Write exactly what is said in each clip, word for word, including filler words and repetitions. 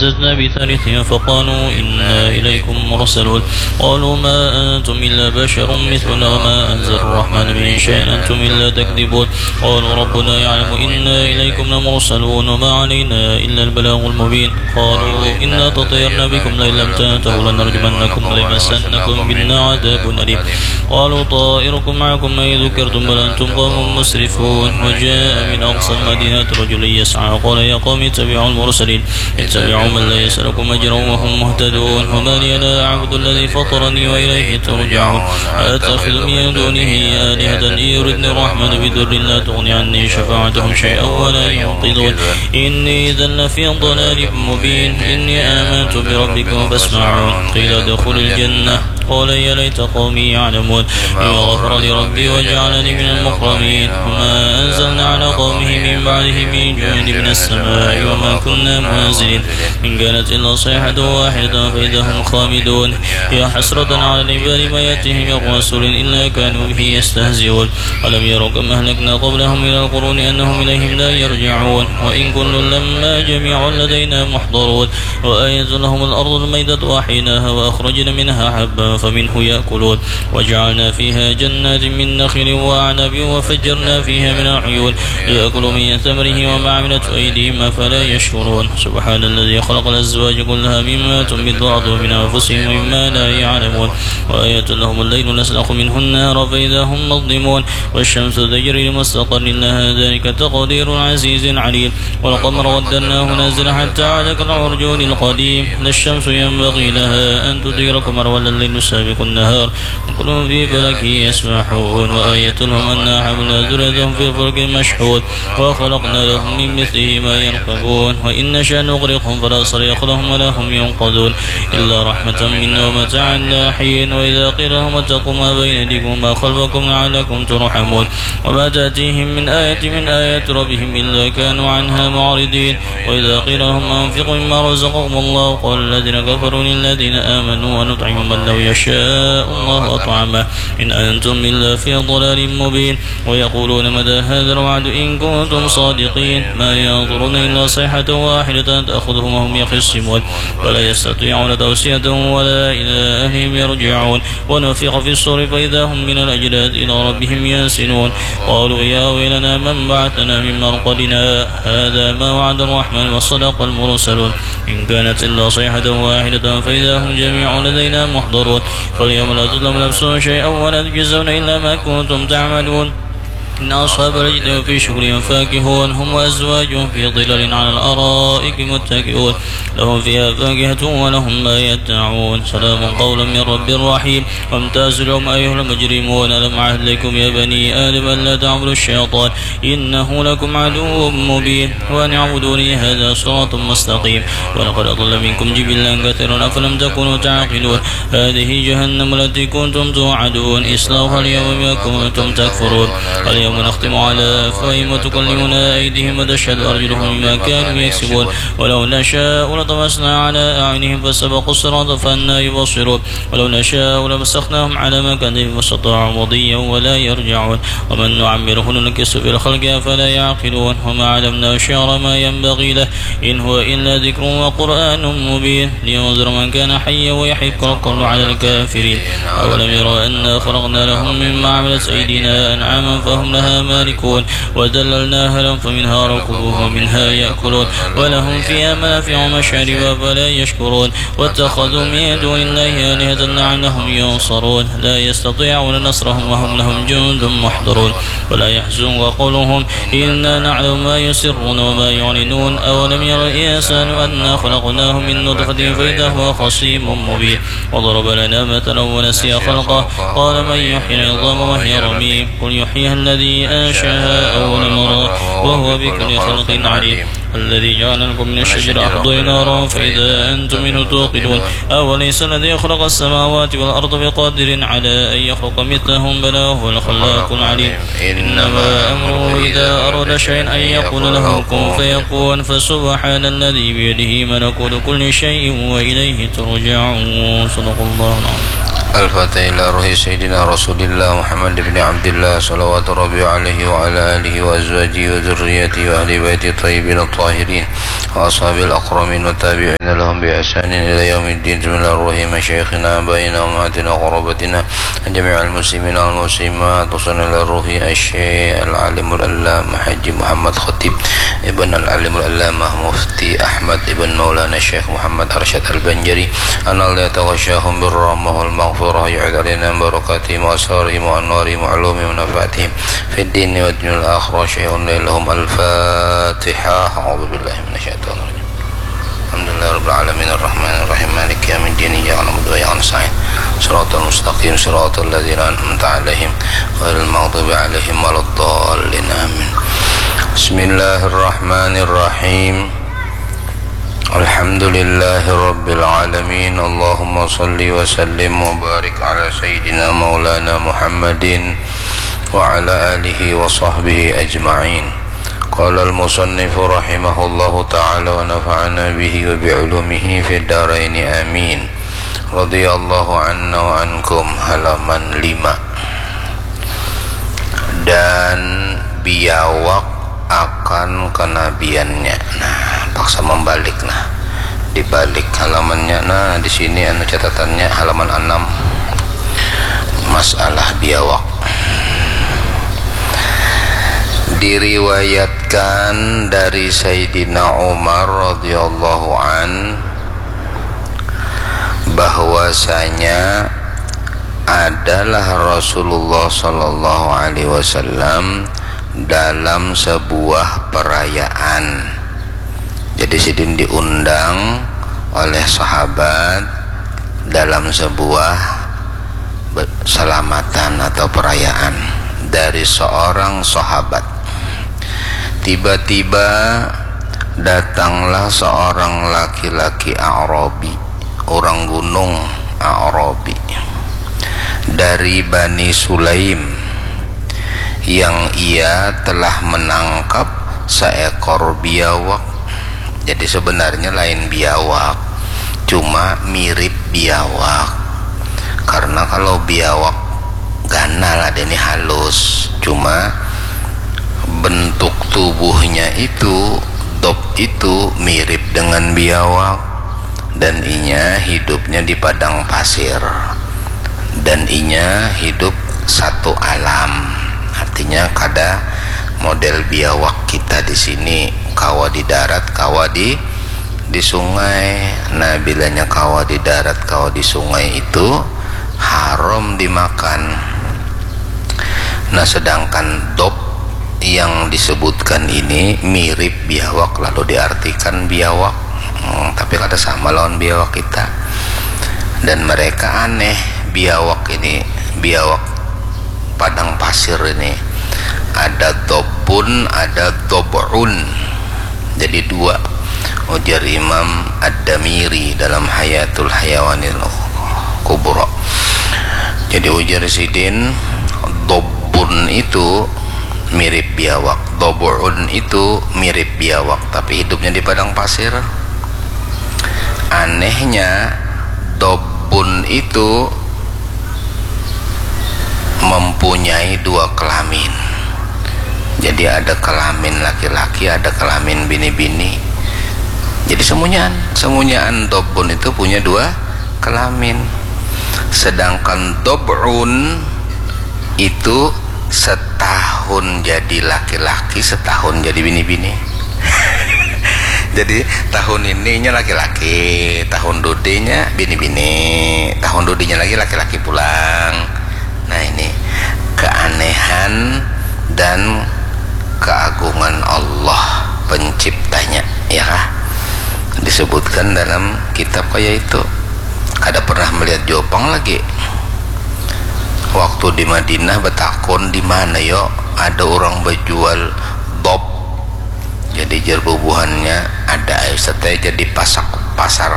فززنا بثالثهم فقالوا إنا إليكم مرسلون. قالوا ما أنتم إلا بشر مثلنا وما أنزل الرحمن من شيء إن أنتم إلا تكذبون. قالوا ربنا يعلم إنا إليكم لمرسلون وما علينا إلا البلاغ المبين. قالوا إنا تطيرنا بكم لئن لم تنتهوا لنرجمنكم وليمسنكم منا عذاب أليم. قالوا طائركم معكم أئن ذكرتم بل أنتم قوم مسرفون. وجاء من أقصى المدينة رجل يسعى قال يا قوم اتبعوا المرسلين. اتبعوا من لا يسألكم أجرا وهم مهتدون. وما لي لا أعبد الذي فطرني وإليه ترجعون. أأتخذ من دونه آلهة إن يردني الرحمن بضر لا تغن عني شفاعتهم شيئا ولا ينقذون. إني إذا لفي ضلال مبين. إني آمنت بربكم فاسمعون. قيل ادخل الجنة. قال يا ليت قومي يعلمون. بما غفر لي ربي وجعلني من المكرمين. وما أنزلنا على قومه من بعده من جند من السماء وما كنا منزلين. إن كانت إلا صيحة واحدة فإذا هم خامدون. يا حسرة على العباد ما يأتيهم من رسول إلا كانوا به يستهزئون. ألم يروا كم أهلكنا قبلهم من القرون أنهم إليهم لا يرجعون. وإن كل لما جميع لدينا محضرون. وآية لهم الأرض الميتة أحييناها وأخرجنا منها حبا فمنه يأكلون. وجعلنا فيها جنات من نخيل وأعناب وفجرنا فيها من العيون ليأكلوا من ثمره وما عملته أيديهم أفلا يشكرون. سبحان الذي خلق الأزواج كلها مما تنبت الأرض ومن أنفسهم ومما لا يعلمون. وآية لهم الليل نسلخ منه النهار فإذا هم مظلمون. والشمس تجري لمستقر لها ذلك تقدير العزيز العليم. والقمر قدرناه منازل حتى عاد كالعرجون القديم. لا الشمس ينبغي لها أن تدرك القمر ولا الليل سابق النهار. كل في فلك يسبحون. وآية لهم أنا حملنا ذريتهم في الفلك المشحون. وخلقنا لهم من مثله ما يركبون. وإن نشأ نغرقهم فلا صريخ لهم ولا هم ينقذون. إلا رحمة منا ومتاعا إلى حين. وإذا قيل لهم اتقوا ما بين أيديكم وما خلفكم لعلكم ترحمون. وما تأتيهم من آية من آيات ربهم إلا كانوا عنها معرضين. وإذا قيل لهم أنفقوا مما رزقكم الله قال الذين كفروا للذين آمنوا أنطعم من لو يشاء الله أطعمه إن أنتم إلا في ضلال مبين. ويقولون متى هذا الوعد إن كنتم صادقين. ما ينظرون إلا صيحة واحدة تأخذهم وهم يخصمون. فلا يستطيعون توصية ولا إلى أهلهم يرجعون. ونفخ في الصور فإذا هم من الأجداث إلى ربهم ينسلون. قالوا يا ويلنا من بعثنا من مرقدنا. هذا ما وعد الرحمن وصدق المرسلون. إن كانت إلا صيحة واحدة فإذا هم جميع لدينا محضرون. فاليوم لا تظلم نفس شيئا ولا تجزون إلا ما كنتم تعملون. إن أصحاب الجنة في شغل فاكهون هم وأزواجهم في ظلال على الأرائك متكئون. لهم فيها فاكهة ولهم ما يدعون. سلام قولا من رب رحيم. وامتازوا اليوم أيها المجرمون. ألم أعهد إليكم يا بني آدم ألا تعبدوا الشيطان إنه لكم عدو مبين. وأن اعبدوني هذا صراط مستقيم. ولقد أضل منكم جبلا كثيرا أفلم تكونوا تعقلون. هذه جهنم التي كنتم توعدون اصلوها اليوم بما كنتم تكفرون. اليوم نختم على أفواههم وتكلمنا أيديهم وتشهد أرجلهم بما كانوا يكسبون. ولو نشاء لطمسنا على أعينهم فاستبقوا الصراط فأنى يبصرون. ولو نشاء لمسخناهم على مكانتهم فاستطاعوا مضيا ولا يرجعون. ومن نعمره ننكسه في الخلق أفلا يعقلون. وما علمناه الشعر ما ينبغي له إن هو إلا ذكر وقرآن مبين لينذر من كان حيا ويحق القول على الكافرين. أولم يروا أنا خلقنا لهم مما عملت أيدينا أنعاما فهم لها مالكون وذللناها لهم فمنها ركوبهم ومنها يأكلون ولهم فيها منافع ومشارب أفلا يشكرون. واتخذوا من دون الله آلهة لعلهم ينصرون. لا يستطيعون نصرهم وهم لهم جند محضرون. ولا يحزنك قولهم إنا نعلم ما يسرون وما يعلنون. أولم ير الإنسان أنا خلقناه من نطفة فإذا هو خصيم مبين. وضرب لنا مثلا ونسي خلقه قال من يحيي العظام وهي رميم. قل يحييها الذي أنشأها أول مرة وهو بكل خلق عليم. الذي جعل لكم من الشجر الأخضر نارا فإذا أنتم منه توقدون. أوليس الذي خلق السماوات والأرض بقادر على أن يخلق مثلهم بلى وهو الخلاق العليم. إنما أمره إذا أراد شيئا أن يقول له كن فيكون. فسبحان الذي بيده ملكوت كل شيء وإليه ترجعون. صدق الله العظيم. الفاتحة إلى روح سيدنا رسول الله محمد بن عبد الله، صلوات ربي عليه وعلى آله وأزواجه وذريته وأهل بيته الطيبين الطاهرين وأصحابه الأكرمين والتابعين لهم بإحسان إلى يوم الدين. بسم الله الرحمن الرحيم. مشايخنا، آبائنا، أمهاتنا، قرابتنا، جميع المسلمين والمسلمات، خصوصا إلى روح الشيخ العالم العلامة حاجي محمد خطيب ابن العالم العلامة مفتي أحمد ابن مولانا الشيخ محمد أرشد البنجري، أن الله يتغشاهم بالرحمة والمغفرة، يعيد علينا من بركاتهم وأسرارهم وأنوارهم وعلومهم ونفعاتهم في الدين والدنيا والآخرة شيئا لا لهم. الفاتحة. أعوذ بالله من الشيطان الرجيم. الحمد لله رب العالمين، الرحمن الرحيم، مالك يوم الدين، إياك نعبد وإياك نستعين، صراط المستقيم، صراط الذين أنعمت عليهم، غير المغضوب عليهم ولا الضالين. آمين. بسم الله الرحمن الرحيم. الحمد لله رب العالمين. اللهم صل وسلم وبارك على سيدنا مولانا محمد وعلى آله وصحبه أجمعين. قال المصنف رحمه الله تعالى ونفعنا به وبعلومه في الدارين آمين. رضي الله عنا وعنكم. Halaman lima. Dan biawak akan kenabiannya. Nah, paksa membalik, nah. Dibalik halamannya. Nah, di sini anu catatannya halaman enam. Masalah biawak. Diriwayatkan dari Sayyidina Umar radhiyallahu an bahwasanya adalah Rasulullah sallallahu alaihi wasallam dalam sebuah perayaan. Jadi sidin diundang oleh sahabat dalam sebuah be-, selamatan atau perayaan dari seorang sahabat. Tiba-tiba datanglah seorang laki-laki Arabi, orang gunung Arabi, dari Bani Sulaim, yang ia telah menangkap seekor biawak. Jadi sebenarnya lain biawak, cuma mirip biawak. Karena kalau biawak ganal, ada ini halus, cuma bentuk tubuhnya itu, dop itu, mirip dengan biawak. Dan inya hidupnya di padang pasir. Dan inya hidup satu alam. Artinya kada model biawak kita di sini, kawa di darat, kawa di, di sungai. Nah, bilanya kawa di darat, kawa di sungai itu haram dimakan. Nah, sedangkan dop yang disebutkan ini mirip biawak, lalu diartikan biawak. Hmm, tapi kada sama lawan biawak kita. Dan mereka aneh, biawak ini, biawak padang pasir ini. Ada dobun, ada dob'un. Jadi dua, ujar Imam Ad-Damiri dalam Hayatul Hayawanil Kubra. Jadi ujar sidin, dobun itu mirip biawak, dobun itu mirip biawak, tapi hidupnya di padang pasir. Anehnya, dobun itu mempunyai dua kelamin. Jadi ada kelamin laki-laki, ada kelamin bini-bini. Jadi semunyaan, semunyaan dobun itu punya dua kelamin. Sedangkan dobun itu setahun jadi laki-laki, setahun jadi bini-bini. Jadi tahun ininya laki-laki, tahun dudinya bini-bini, tahun dudinya lagi laki-laki pulang. Nah, ini keanehan dan keagungan Allah penciptanya, ya kah? Disebutkan dalam kitab kaya itu. Kada pernah melihat jua pang lagi. Waktu di Madinah betakun, "Di mana yo ada orang bejual dop?" Jadi jar bubuhannya, "Ada ai, Ustaz, jar di pasak, pasar,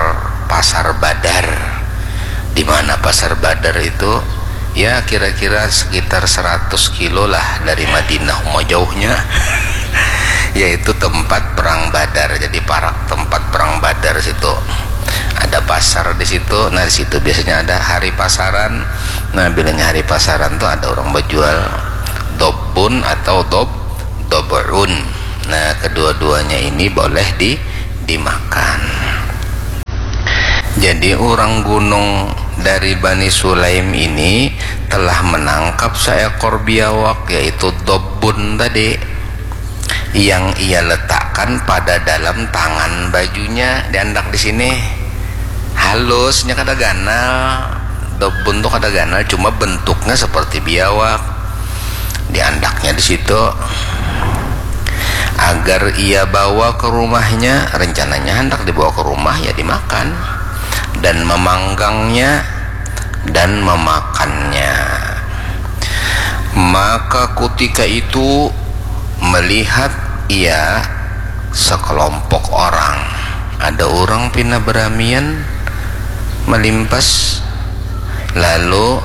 pasar Badar." Di mana pasar Badar itu? Ya, kira-kira sekitar seratus kilo lah dari Madinah, uma jauhnya. Yaitu tempat perang Badar. Jadi parak tempat perang Badar situ. Ada pasar di situ. Nah, di situ biasanya ada hari pasaran. Nah, bilanya hari pasaran tuh ada orang berjual dobun atau dob dobun. Nah, kedua-duanya ini boleh di dimakan. Jadi orang gunung dari Bani Sulaim ini telah menangkap seekor biawak, yaitu dobun tadi, yang ia letakkan pada dalam tangan bajunya. Diandak di sini halusnya, kada ganal. Dobun tuh kada ganal, cuma bentuknya seperti biawak. Diandaknya di situ agar ia bawa ke rumahnya. Rencananya hendak dibawa ke rumah, ya dimakan dan memanggangnya dan memakannya. Maka kutika itu melihat ia sekelompok orang. Ada orang pina beramian melimpas, lalu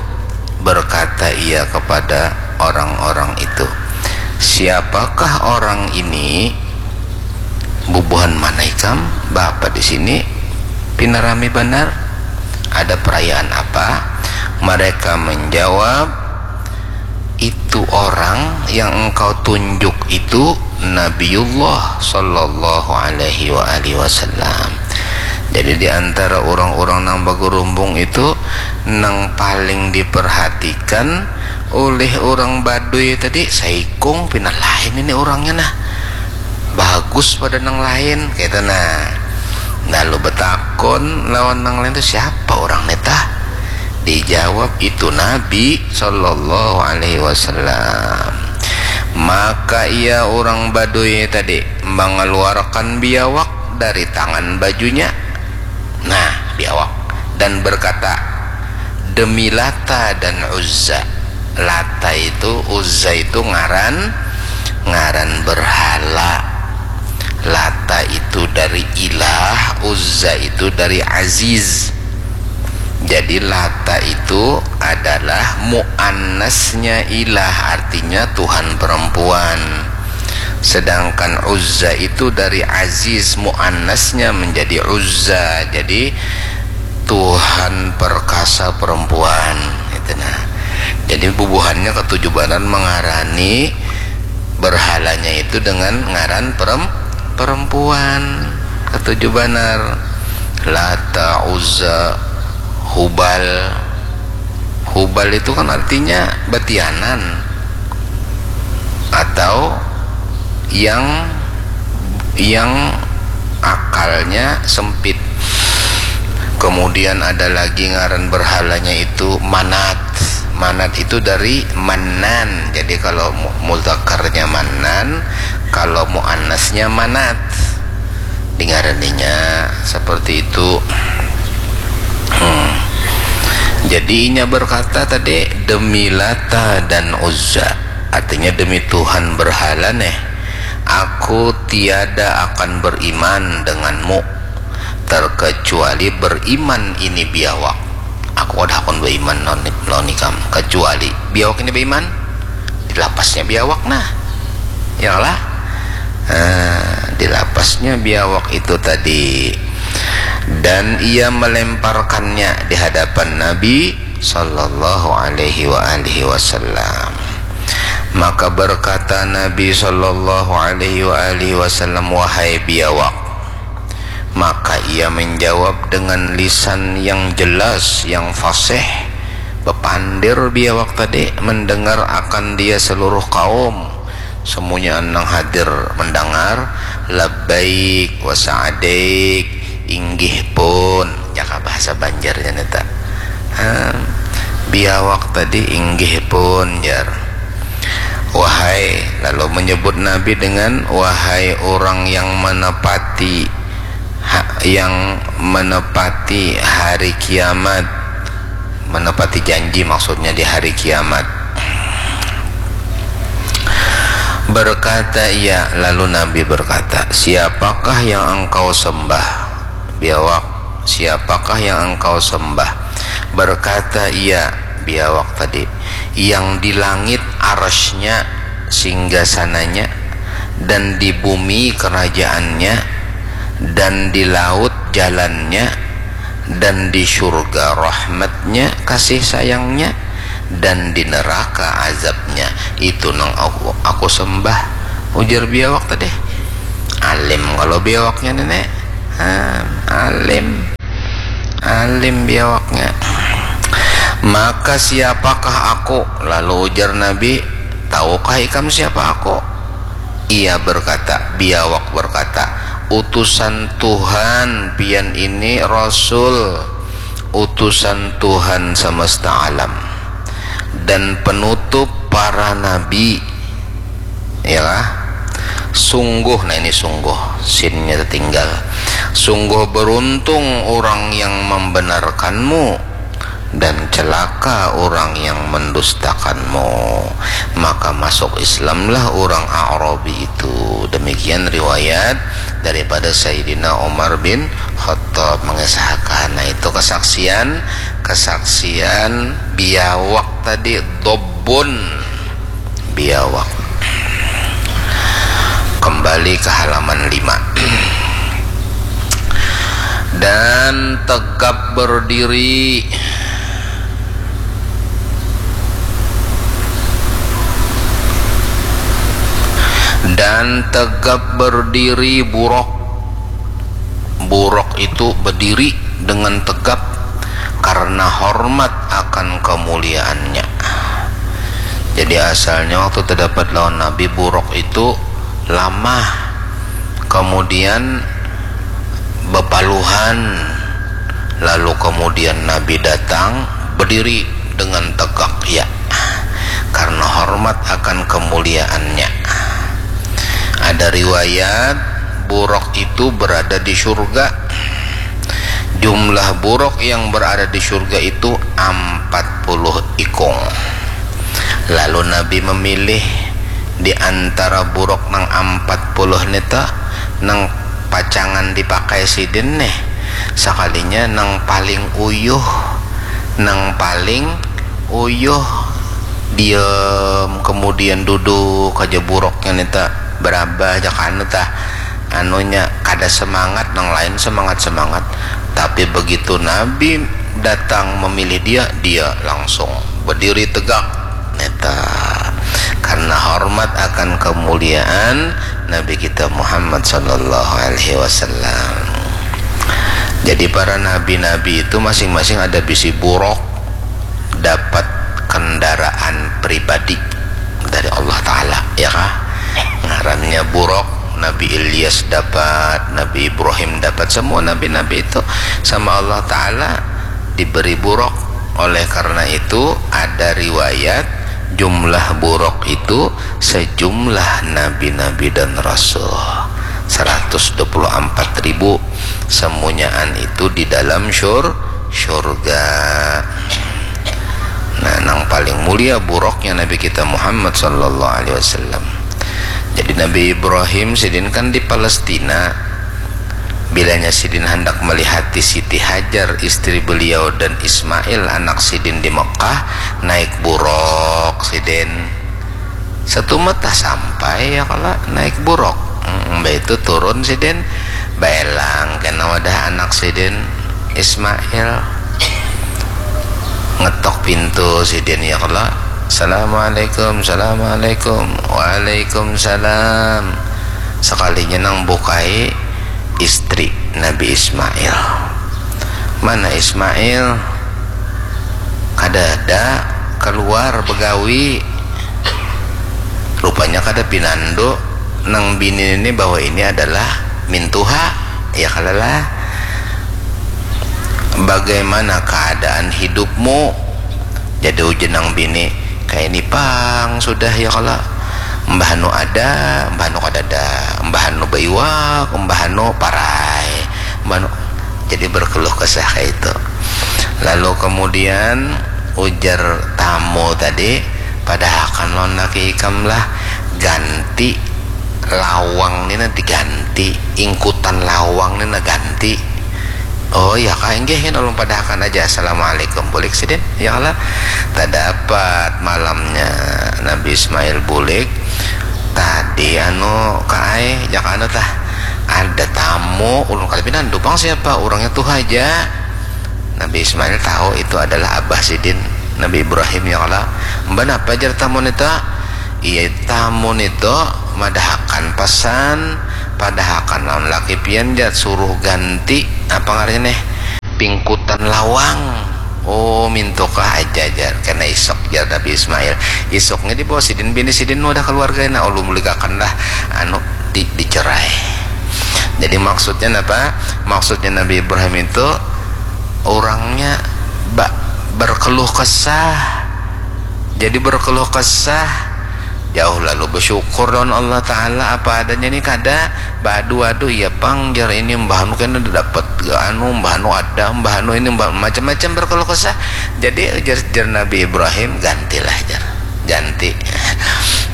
berkata ia kepada orang-orang itu, "Siapakah orang ini? Bubuhan mana ikam? Bapa di sini pina rami banar. Ada perayaan apa?" Mereka menjawab, "Itu orang yang engkau tunjuk itu Nabiullah sallallahu alaihi wa alihi wasallam." Jadi di antara orang-orang nang bagerumbung itu, nang paling diperhatikan oleh orang Baduy tadi, saikung pina lain ini orangnya nah. Bagus pada nang lain, kata nah. Lalu betakon lawan nang lain tu, "Siapa orang ni tah?" Dijawab, "Itu Nabi sallallahu alaihi wasallam." Maka ia orang Baduy tadi mengeluarkan biawak dari tangan bajunya. Nah, biawak. Dan berkata, "Demi Lata dan Uzza." Lata itu, Uzza itu ngaran, ngaran berhala. Lata itu dari ilah, Uzza itu dari aziz. Jadi Lata itu adalah muannasnya ilah, artinya Tuhan perempuan. Sedangkan Uzza itu dari aziz, muannasnya menjadi Uzza. Jadi Tuhan perkasa perempuan, gitu nah. Jadi bubuhannya ketujuh banar mengarani berhalanya itu dengan ngaran perem-, perempuan. Ketujuh banar. Lata, Uzza, Hubal. Hubal itu kan artinya batianan atau yang, yang akalnya sempit. Kemudian ada lagi ngaran berhalanya itu Manat. Manat itu dari Manan. Jadi kalau mu-, muzakarnya Manan, kalau muannasnya Manat. Dingaraninya seperti itu. Hmm. Jadi inya berkata tadi, "Demi Lata dan Uzza." Artinya, "Demi Tuhan berhala neh, aku tiada akan beriman denganmu terkecuali beriman ini biawak. Aku kada akan beriman lawan, lawan ikam kecuali biawak ini beriman." Dilapasnya biawak nah, ya lah. Nah, dilapasnya biawak itu tadi, dan ia melemparkannya di hadapan Nabi sallallahu alaihi wa alihi wasallam. Maka berkata Nabi sallallahu alaihi wa alihi wasallam, "Wahai biawak." Maka ia menjawab dengan lisan yang jelas, yang fasih. Bepandir biawak tadi, mendengar akan dia seluruh kaum. Semuanya nang hadir mendengar, "Labbaik wa sa'daik," inggih pun, jaka bahasa Banjarnya nita. Ha, biawak tadi, "Inggih pun," jar. "Wahai," lalu menyebut Nabi dengan, "Wahai orang yang menepati, ha-, yang menepati hari kiamat." Menepati janji maksudnya di hari kiamat. Berkata ia, lalu Nabi berkata, "Siapakah yang engkau sembah?" Biawak, "Siapakah yang engkau sembah?" Berkata ia, biawak tadi, "Yang di langit arasnya, singgasananya, dan di bumi kerajaannya, dan di laut jalannya, Dan di syurga rahmatnya, kasih sayangnya, dan di neraka azabnya. Itu nang aku, aku sembah, ujar biawak tadi. Alim kalau biawaknya, Nenek. Ha, alim. Alim biawaknya. Maka siapakah aku? Lalu ujar Nabi, tahukah ikam siapa aku? Ia berkata, biawak berkata, utusan Tuhan pian ini, Rasul, utusan Tuhan semesta alam, dan penutup para nabi. Yalah. Sungguh, nah ini sungguh, sinnya tertinggal. Sungguh beruntung orang yang membenarkanmu, dan celaka orang yang mendustakanmu. Maka masuk Islamlah orang Arabi itu. Demikian riwayat daripada Sayyidina Umar bin Khattab mengisahkan. Nah, itu kesaksian, kesaksian biawak tadi, dobbun, biawak. Kembali ke halaman lima. Dan tegap berdiri. Dan tegap berdiri burok. Burok itu berdiri dengan tegap karena hormat akan kemuliaannya. Jadi asalnya waktu terdapat lawan Nabi, burok itu lamah, kemudian bepaluhan, lalu kemudian Nabi datang berdiri dengan tegak, ya, karena hormat akan kemuliaannya. Ada riwayat burok itu berada di surga. Jumlah burok yang berada di surga itu empat puluh ikung. Lalu Nabi memilih di antara burok nang empat puluh nita, nang pacangan dipakai sidin nih, sakalinya nang paling uyuh, nang paling uyuh diem, kemudian duduk aja buroknya nita, berabah aja kanu tah, anunya kada semangat, nang lain semangat-semangat, tapi begitu Nabi datang memilih dia, dia langsung berdiri tegak neta, karena hormat akan kemuliaan Nabi kita Muhammad sallallahu alaihi wasallam. Jadi para nabi-nabi itu masing-masing ada bisi burok, dapat kendaraan pribadi dari Allah Ta'ala, ya kah? Ngarannya burok, Nabi Ilyas dapat, Nabi Ibrahim dapat, semua nabi-nabi itu sama Allah Ta'ala diberi burok. Oleh karena itu ada riwayat jumlah burok itu sejumlah nabi-nabi dan rasul, seratus dua puluh empat ribu, semunyaan itu di dalam syur surga. Nah, nang paling mulia buroknya Nabi kita Muhammad sallallahu alaihi wasallam. Jadi Nabi Ibrahim sidin kan di Palestina. Bilanya sidin hendak melihati Siti Hajar istri beliau dan Ismail anak sidin di Mekah, naik burok sidin. Satu mata sampai ya kala naik burok. Hmm, mbah itu turun sidin, baelang kena wadah anak sidin Ismail. Ngetok pintu sidin ya kala, "Assalamualaikum, assalamualaikum." "Waalaikumsalam." Sekalinya nang bukai istri Nabi Ismail. "Mana Ismail?" "Kada ada, keluar begawi." Rupanya kada pinandu nang bini ini bahwa ini adalah mintuha, ya kalalah. "Bagaimana keadaan hidupmu?" Jadi ujar nang bini, "Kayak ini pang sudah ya kala. Mbah anu ada, mbah anu kada ada, mbah anu baiwak, mbah anu parai, mbah anu." Jadi berkeluh kesah kayak itu. Lalu kemudian ujar tamu tadi, "Padahakan lawan laki ikam lah, ganti lawang ni nah diganti, ingkutan lawang ni nah ganti." "Oh ya kah, inggih, ulun padahakan aja. Assalamualaikum." Bulik sidin, ya kala. Tadapat malamnya Nabi Ismail bulik. "Tadi anu kaai, jak anu tah, ada tamu, ulun kada pinandu pang siapa, urangnya tuh aja." Nabi Ismail tahu itu adalah abah sidin, Nabi Ibrahim, ya kalo. Mban apa jar tamu nito? Iya, tamu nito madahakan pesan, padahakan lawan laki pian jar, suruh ganti, apa ngarannya nih, pingkutan lawang. Oh, mintukah aja jar, kena isok jar Nabi Ismail. Isoknya dibawa sidin bini sidin wadah keluarga, nah, ulun mulikakan lah, anu, di, dicerai. Jadi maksudnya apa? Maksudnya Nabi Ibrahim itu orangnya ba, berkeluh kesah. Jadi berkeluh kesah jauh lalu bersyukur lawan Allah Ta'ala, apa adanya nih, kada baadu-adu. Iya pang jar, ini mbah anu kena dapat anu, mbah anu ada, mbah anu ini, mbah macam-macam berkeluh kesah. Jadi jar, jar Nabi Ibrahim, gantilah jar, ganti.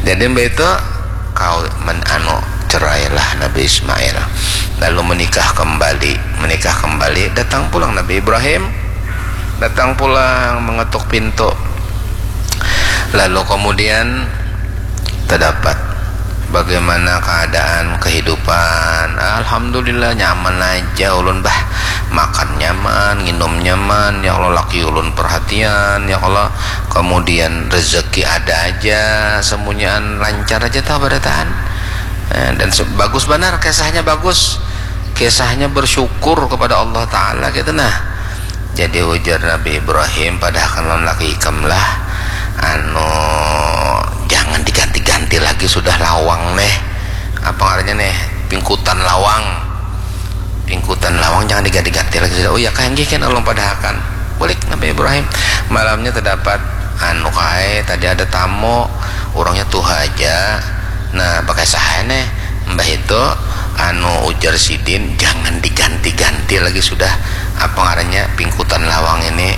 Jadi mbah itu kau men anu, cerailah Nabi Ismail, lalu menikah kembali. Menikah kembali, datang pulang Nabi Ibrahim, datang pulang mengetuk pintu. Lalu kemudian terdapat bagaimana keadaan kehidupan. Alhamdulillah, nyaman aja ulun bah, makan nyaman, nginum nyaman, ya Allah, laki ulun perhatian, ya Allah, kemudian rezeki ada aja, semunyaan lancar aja tah barataan. Eh, dan bagus banar kisahnya, bagus kisahnya, bersyukur kepada Allah Ta'ala gitu nah. Jadi ujar Nabi Ibrahim, padahakan lawan laki ikam lah, anu, jangan diganti-ganti lagi sudah lawang neh, apa ngarannya neh, pingkutan lawang, pingkutan lawang jangan diganti-ganti lagi sudah. Oh ya kah, nggih kena ulun padahakan. Bulik Nabi Ibrahim. Malamnya terdapat anu kai, tadi ada tamu, orangnya tuha aja. Nah, pakai saha neh? Mbah itu, anu, ujar sidin, jangan diganti-ganti lagi sudah, apa ngarannya, pingkutan lawang ini.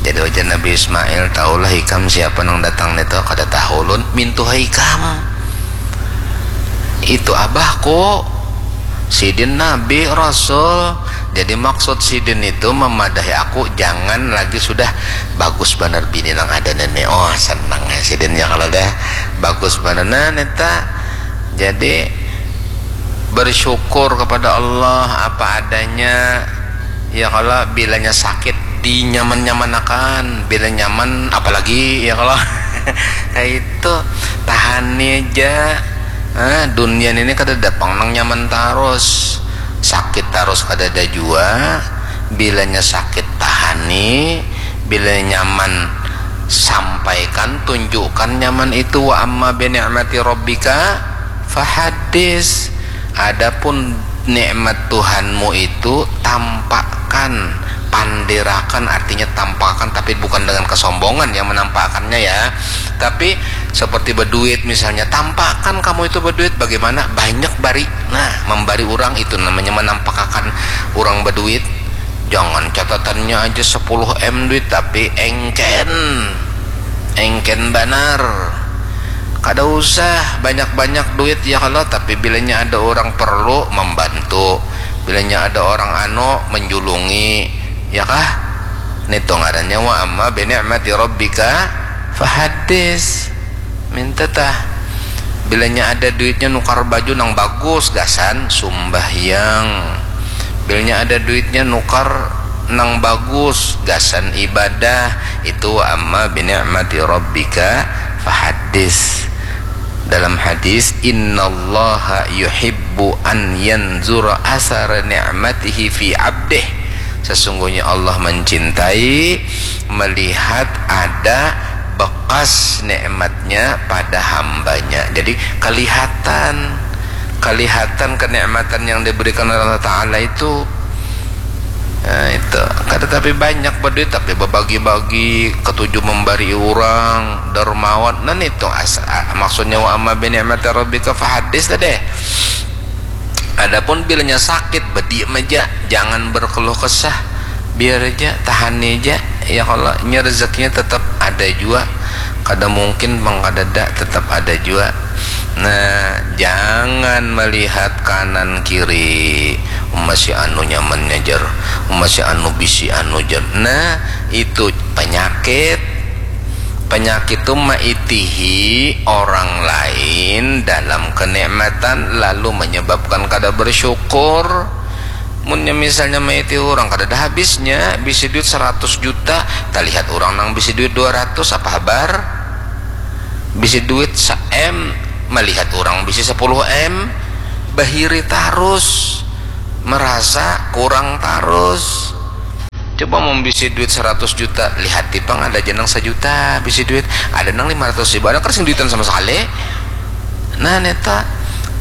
Jadi ujar Nabi Ismail, tahulah ikam siapa nang datang nito? Kada tahu ulun. Mintuha ikam. Itu abahku. Sidin nabi, rasul. Jadi maksud sidin itu memadahi aku, jangan lagi sudah. Bagus banar bini nang ada nini. Oh, senang ya sidin ya kalau dah. Bagus banar nah neta. Jadi bersyukur kepada Allah apa adanya. Ya kalau bilanya sakit dinyaman-nyamanakan, bila nyaman apalagi ya kalau. Nah itu, tahani aja. Ah, dunia ini kada ada pang nang nyaman tarus. Sakit tarus kada ada jua. Bilanya sakit tahani, bila nyaman sampaikan, tunjukkan nyaman itu. Wa amma bi ni'mati rabbika fahaddis. Adapun nikmat Tuhanmu itu tampakkan, pandirakan, artinya tampakkan, tapi bukan dengan kesombongan yang menampakkannya ya, tapi seperti berduit misalnya, tampakkan kamu itu berduit, bagaimana banyak bari, nah, membari orang itu namanya menampakkan orang berduit. Jangan catatannya aja sepuluh M duit tapi engken, engken banar. Kada usah banyak-banyak duit ya kalau, tapi bilanya ada orang perlu membantu, bilanya ada orang anu menjulungi, ya kah? Nitu ngarannya wa amma bi ni'mati rabbika fahaddis. Minta tah. Bilanya ada duitnya nukar baju nang bagus gasan sumbahyang. Bilanya ada duitnya nukar nang bagus gasan ibadah. Itu wa amma bi ni'mati rabbika fahaddis. Dalam hadis, innallaha yuhibbu an yanzura asara ni'matihi fi abdih. Sesungguhnya Allah mencintai melihat ada bekas nikmatnya pada hambanya. Jadi kelihatan, kelihatan kenikmatan yang diberikan oleh Allah Ta'ala itu. Nah, itu. Kada tapi banyak berduit tapi berbagi-bagi, ketujuh memberi orang, dermawan. Nah itu asa, maksudnya wa amma bi ni'mati rabbika fahaddis tadi. Adapun bilanya sakit, bediam aja, jangan berkeluh kesah, biar aja, tahani aja. Ya kalau nya rezekinya tetap ada jua, kada mungkin pang kadada, tetap ada jua. Nah, jangan melihat kanan kiri, masih anu nyamannya jar, masih anu bisi anu jar. Nah, itu penyakit. Penyakit tu maitihi orang lain dalam kenikmatan lalu menyebabkan kada bersyukur. Munnya misalnya maiti urang, kadada habisnya, bisi duit saratus juta, talihat urang nang bisi duit dua ratus, apa habar? Bisi duit sa-M, malihat urang bisi sapuluh M, bahiri tarus, marasa kurang tarus. Coba mun bisi duit saratus juta, lihati pang, ada ja nang sajuta bisi duit, ada nang lima ratus ribu, ada kada sing duitan sama sakali. Nah, neta,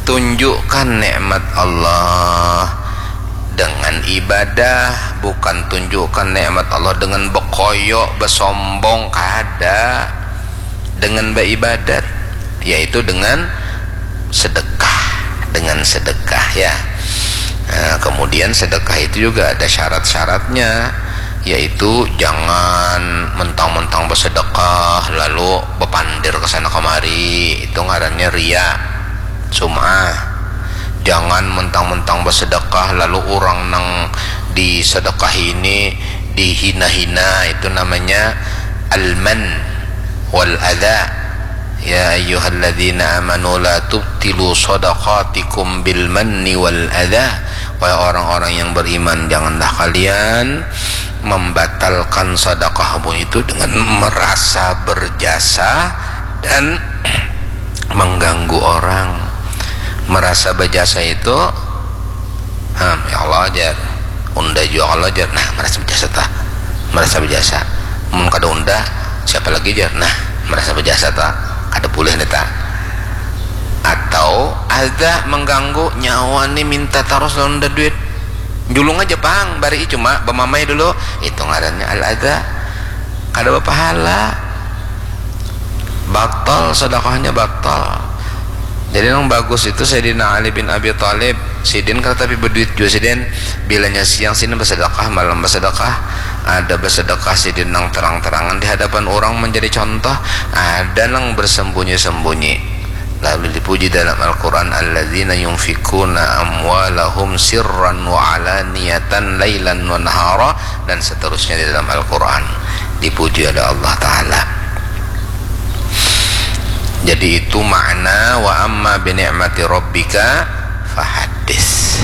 tunjukkan nikmat Allah dengan ibadah, bukan tunjukkan nikmat Allah dengan bekoyo, besombong, kada. Dengan baibadat, yaitu dengan sedekah, dengan sedekah, ya. Nah, kemudian sedekah itu juga ada syarat-syaratnya, yaitu jangan mentang-mentang bersedekah lalu bepandir ke sana kemari, itu ngarannya ria, sum'ah. Jangan mentang-mentang bersedekah lalu orang nang disedekahi ini dihina-hina, itu namanya al-man wal adha. Ya ayyuhalladzina amanu la tubtilu sadaqatikum bil manni wal adha. Wahai orang-orang yang beriman, janganlah kalian membatalkan sedekahmu itu dengan merasa berjasa dan mengganggu orang. Merasa berjasa itu, hmm, ya Allah, jar, unda jua kalau, jar, nah, merasa berjasa tah, merasa berjasa. Mun kada unda, siapa lagi, jar, nah, merasa berjasa tah, kada boleh nih tah. Atau ada mengganggu nyawa nih, minta terus lawan unda duit, julung aja pang, bari cuma bamamai dulu, itu ngarannya al-adha, kada berpahala. Batal sedekahnya, batal. Jadi nang bagus itu Sayyidina Ali bin Abi Thalib, sidin kada tapi berduit jua sidin, bilanya siang sidin bersedekah, malam bersedekah, ada bersedekah sidin nang terang-terangan di hadapan orang menjadi contoh, ada nang bersembunyi-sembunyi. Lalu dipuji dalam Al-Quran, alladzina yunfikuna amwalahum sirran wa alaniyatan lailan wa nahara, dan seterusnya di dalam Al-Quran. Dipuji oleh Allah Ta'ala. Jadi itu makna wa amma bi ni'mati rabbika fahaddis.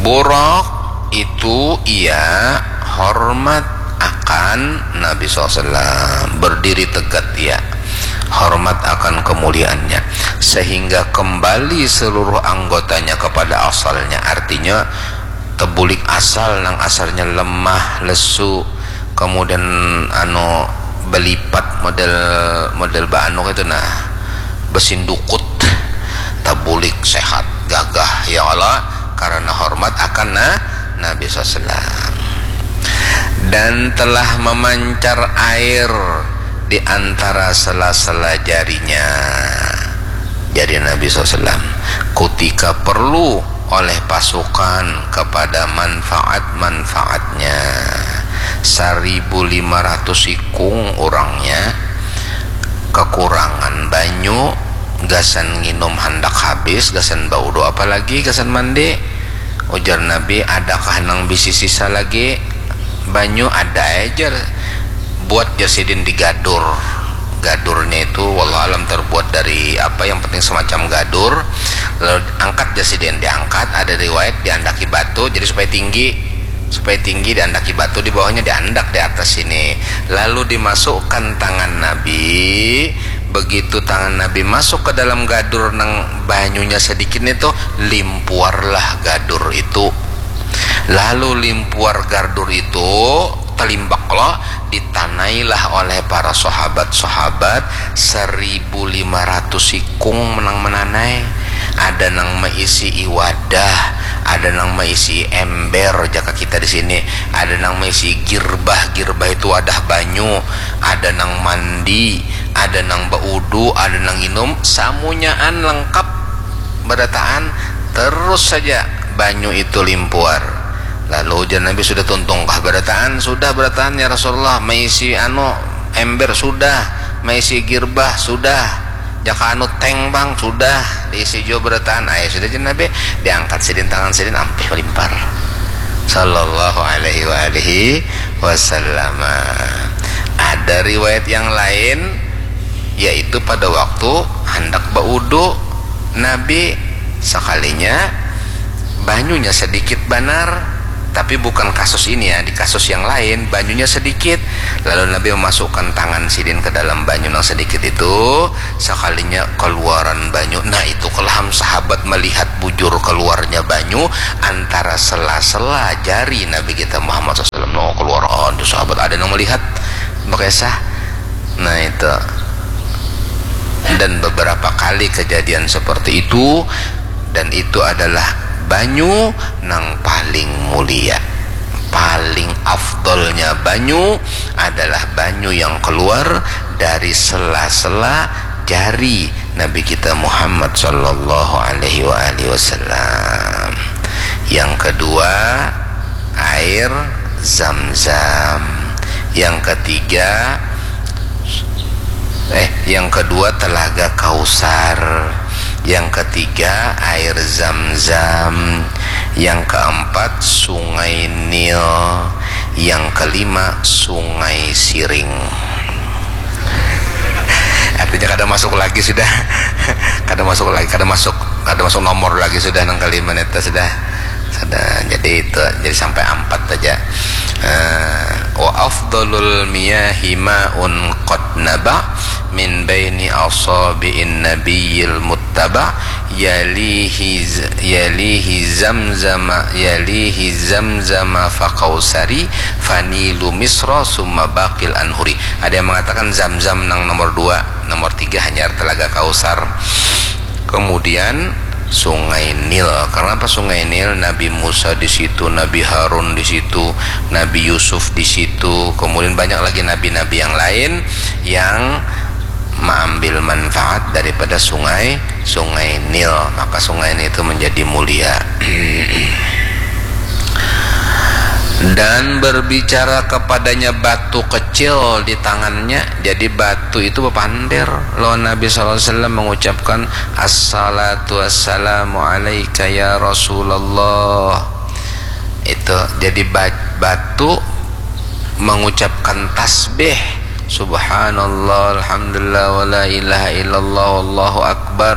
Buraq itu ia hormat akan Nabi sallallahu alaihi wasallam, berdiri tegak ia, hormat akan kemuliaannya, sehingga kembali seluruh anggotanya kepada asalnya, artinya tebulik asal, nang asalnya lemah, lesu, kemudian anu belipat model, model baanu itu, nah, besindukut, tabulik sehat, gagah, ya Allah, karena hormat akan na-, Nabi sallallahu alaihi wasallam. Dan telah memancar air di antara sela-sela jarinya, jari Nabi sallallahu alaihi wasallam, kutika perlu oleh pasukan kepada manfaat-manfaatnya. Saribu lima ratus ikung urangnya, kekurangan banyu, gasan nginum handak habis, gasan baudu, apalagi gasan mandi. Ujar Nabi, adakah nang bisi sisa lagi banyu? Ada aja. Buat jar sidin di gadur. Gadurnya itu, wallahu alam, terbuat dari apa, yang penting semacam gadur. Lalu angkat jar sidin, diangkat, ada riwayat diandaki batu, jadi supaya tinggi, supaya tinggi diandaki batu, di bawahnya diandak di atas sini. Lalu dimasukkan tangan Nabi. Begitu tangan Nabi masuk ke dalam gadur nang banyunya sedikit itu, limpuarlah gadur itu. Lalu limpuar gadur itu, talimbak lo, ditanailah oleh para sahabat-sahabat, seribu lima ratus ikung nang menanai. Ada nang meisi wadah, ada nang meisi ember, jaka kita di sini, ada nang meisi girbah, girbah itu wadah banyu, ada nang mandi, ada nang baudu, ada nang nginum, samunyaan lengkap berataan, terus saja banyu itu limpuar. Lalu ujar Nabi, sudah tuntung kah berataan? Sudah berataan, ya Rasulullah. Maisi anu, ember? Sudah. Maisi girbah? Sudah. Jaka anu teng bang? Sudah. Diisi jua berataan. Ayo sudah, jar Nabi, diangkat sidin tangan sidin, ampih malimpar. Sallallahu alaihi wa alihi wasallam. Ada riwayat yang lain, yaitu pada waktu handak baudu, Nabi sekalinya banyunya sedikit banar, tapi bukan kasus ini ya, di kasus yang lain banyunya sedikit, lalu Nabi memasukkan tangan sidin ke dalam banyu nang sedikit itu, sekalinya keluaran banyu. Nah, itu kelaham sahabat melihat bujur keluarnya banyu antara sela-sela jari Nabi kita Muhammad sallallahu alaihi wasallam. No, keluaran tu sahabat ada yang melihat, bakisah. Nah, itu. Dan beberapa kali kejadian seperti itu, dan itu adalah banyu nang paling mulia. Paling afdolnya banyu adalah banyu yang keluar dari sela-sela jari Nabi kita Muhammad sallallahu alaihi wa alihi wasallam. Yang kedua, air Zam-Zam. Yang ketiga, eh, yang kedua Telaga Kausar. Yang ketiga, air Zam-Zam. Yang keempat, Sungai Nil. Yang kelima, Sungai Siring. Artinya kada masuk lagi sudah. Kada masuk lagi, kada masuk, kada masuk nomor lagi sudah nang kelima neta sudah. Sudah, jadi itu, jadi sampai ampat aja. Eh, wa afdalul miyahi ma'un qad naba min baini asabi'in nabiyil muttaba, yalihi z-, yalihi Zamzama, yalihi Zamzama fa Kausari, fa Nilu Misra, summa baqil anhuri. Ada yang mengatakan Zamzam nang nomor dua, nomor tiga hanyar Telaga Kausar. Kemudian Sungai Nil. Kenapa Sungai Nil? Nabi Musa di situ, Nabi Harun di situ, Nabi Yusuf di situ. Kemudian banyak lagi nabi-nabi yang lain yang mengambil manfaat daripada sungai, Sungai Nil. Maka Sungai Nil itu menjadi mulia. Dan berbicara kepadanya batu kecil di tangannya. Jadi batu itu bepander lawan Nabi sallallahu alaihi wasallam, mengucapkan, "Assalatu wassalamu alaika ya Rasulullah." Itu jadi ba-, batu mengucapkan tasbih, "Subhanallah, alhamdulillah, wala ilaha illallah, wallahu akbar,"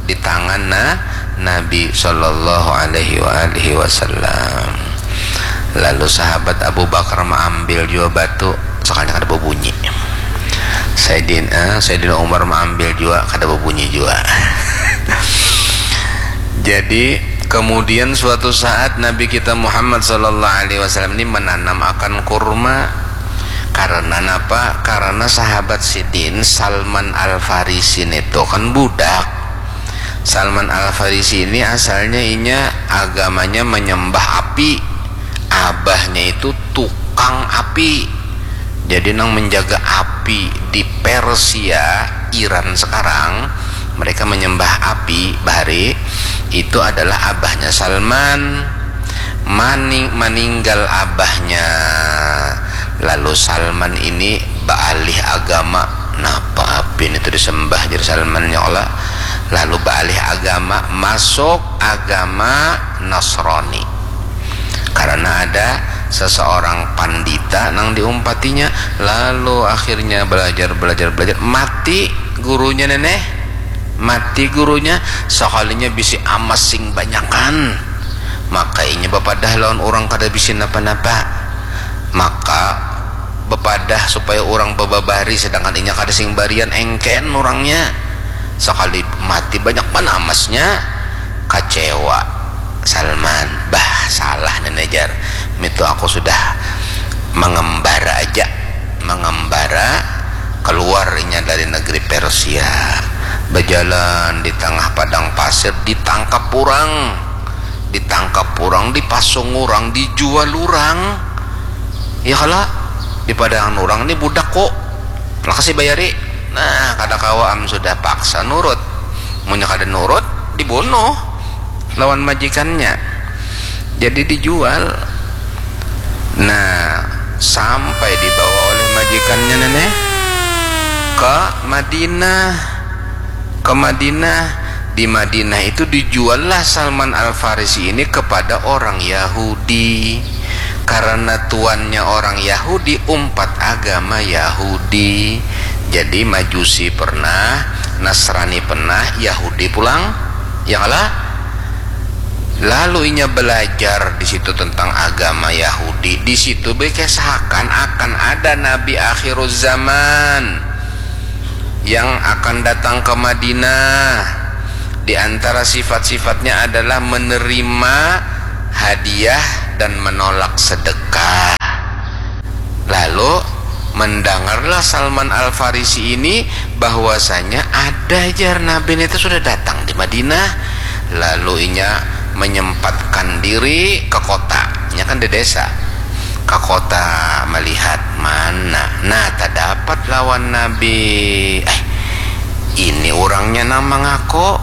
di tangan na-, Nabi sallallahu alaihi wa alihi wasallam. Lalu sahabat Abu Bakar maambil jua batu, sakalinya kada babunyi. Sayyidin-, eh, Sayyidina Umar maambil jua, kada babunyi jua. Jadi, kemudian suatu saat Nabi kita Muhammad sallallahu alaihi wasallam ini menanam akan kurma. Karena napa? Karena sahabat sidin Salman Al-Farisi nitu kan budak. Salman Al-Farisi ini asalnya inya agamanya menyembah api. Abahnya itu tukang api. Jadi nang menjaga api di Persia, Iran sekarang, mereka menyembah api bahari, itu adalah abahnya Salman. Maning-, maninggal abahnya, lalu Salman ini baalih agama. Napa api ini tu disembah, jar Salman, ya Allah. Lalu baalih agama, masuk agama Nasrani. Karena ada seseorang pandita nang diumpatinya, lalu akhirnya belajar, belajar, belajar, mati gurunya, neneh. Mati gurunya, sakalinya bisi amas sing banyakan. Maka inya bapadah lawan urang kada bisi napa-napa. Maka bapadah supaya urang bababari, sedangkan inya kada sing barian, engken urangnya. Sakali mati banyak banar amasnya, kacewa Salman. Bah, salah neneh, jar. Mitu aku sudah mangembara aja, mangembara keluar inya dari negeri Persia. Bajalan di tangah padang pasir, ditangkap urang, ditangkap urang, dipasung urang, dijual urang. Ya kalo, dipadangan urang ni budak ku, lakasi bayari. Nah, kada kawa am sudah, paksa nurut. Munnya kada nurut, dibunuh lawan majikannya. Jadi dijual. Nah, sampai dibawa oleh majikannya, neneh, ke Madinah. Ke Madinah. Di Madinah itu dijuallah Salman Al-Farisi ini kepada orang Yahudi. Karena tuannya orang Yahudi, umpat agama Yahudi. Jadi Majusi pernah, Nasrani pernah, Yahudi pulang. Ya kalah? Lalu inya belajar di situ tentang agama Yahudi. Di situ dikesahakan akan ada Nabi akhiruz zaman yang akan datang ke Madinah. Di antara sifat-sifatnya adalah menerima hadiah dan menolak sedekah. Lalu mendengarlah Salman Al-Farisi ini bahwasanya ada, jar, Nabi itu sudah datang di Madinah. Lalu inya menyempatkan diri ke kota. Inya kan di desa. Ke kota melihat mana. Nah, tadapat lawan Nabi. Eh, ini orangnya nang mangaku.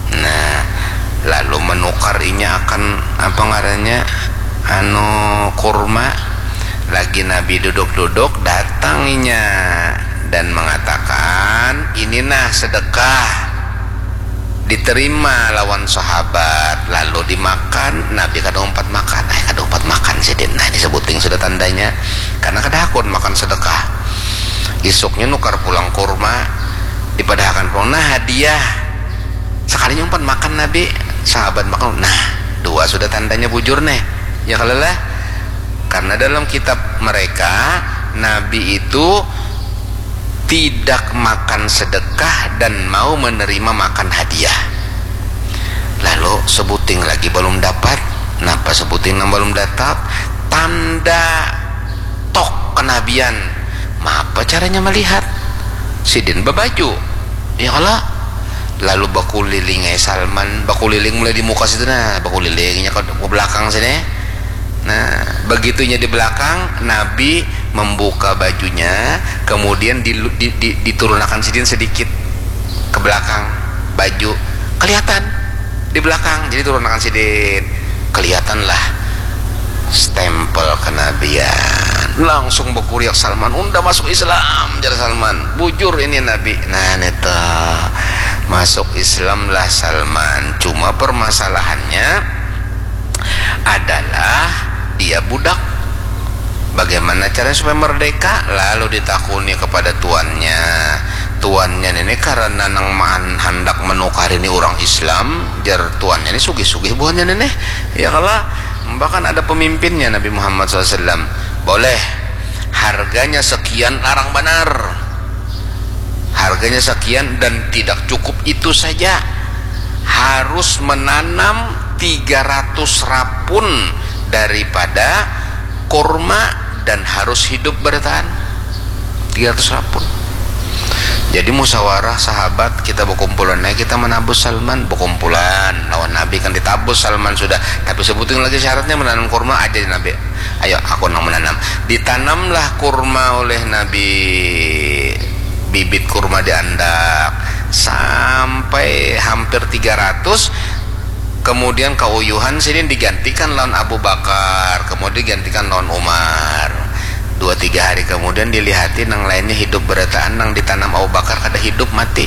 Nah, lalu menukar inya akan, apa ngarannya, anu, kurma. Lagi Nabi duduk-duduk, datang inya dan mengatakan, "Ini nah sedekah." Diterima lawan sahabat, lalu dimakan. Nabi kada umpat makan. Eh, kada umpat makan sidin. Nah, ini sebuting sudah tandanya. Karena kada hakun makan sedekah. Isuknya nukar pulang kurma, dipadahakan pulang. Nah, hadiah. Sekalinya umpat makan Nabi, sahabat makan. Nah, dua sudah tandanya bujur nih. Ya kalo lah. Karena dalam kitab mereka, Nabi itu tidak makan sedekah dan mau menerima makan hadiah. Lalu sebuting lagi belum dapat. Napa sebuting nang belum dapat? Tanda tok kenabian. Mapa caranya melihat? Sidin babaju. Ya kalo? Lalu bakuliling ai Salman, bakuliling mulai di muka situ, nah, bakulilingnya ke, ke belakang sini. Nah, begitunya di belakang, Nabi membuka bajunya, kemudian di, di, di, diturunakan sidin sedikit ke belakang baju, kelihatan di belakang, jadi turunakan sidin, kelihatanlah stempel kenabian. Langsung berkuriak Salman, "Unda masuk Islam," jar Salman. "Bujur ini Nabi." Nah, neta, masuk Islam lah Salman. Cuma permasalahannya adalah dia budak. Bagaimana caranya supaya merdeka? Lalu ditakuni kepada tuannya. Tuannya ini karena nang maan handak menukar ini orang Islam, jar tuannya ini sugih-sugih buhannya ini. Ya kalo, bahkan ada pemimpinnya Nabi Muhammad sallallahu alaihi wasallam. Boleh, harganya sekian, larang banar. Harganya sekian dan tidak cukup itu saja. Harus menanam tiga ratus rapun daripada kurma dan harus hidup bertahan. Tiga ratus rapun. Jadi musyawarah sahabat, kita berkumpulan, nah, kita menabus Salman, berkumpulan lawan Nabi kan ditabus Salman sudah. Tapi sebuting lagi syaratnya menanam kurma aja di Nabi. Ayo, aku nang menanam. Ditanamlah kurma oleh Nabi, bibit kurma diandak sampai hampir tiga ratus. Kemudian kauyuhan sini digantikan lawan Abu Bakar, kemudian digantikan lawan Umar. Dua tiga hari kemudian dilihati nang lainnya hidup berataan, nang ditanam Abu Bakar kada hidup, mati.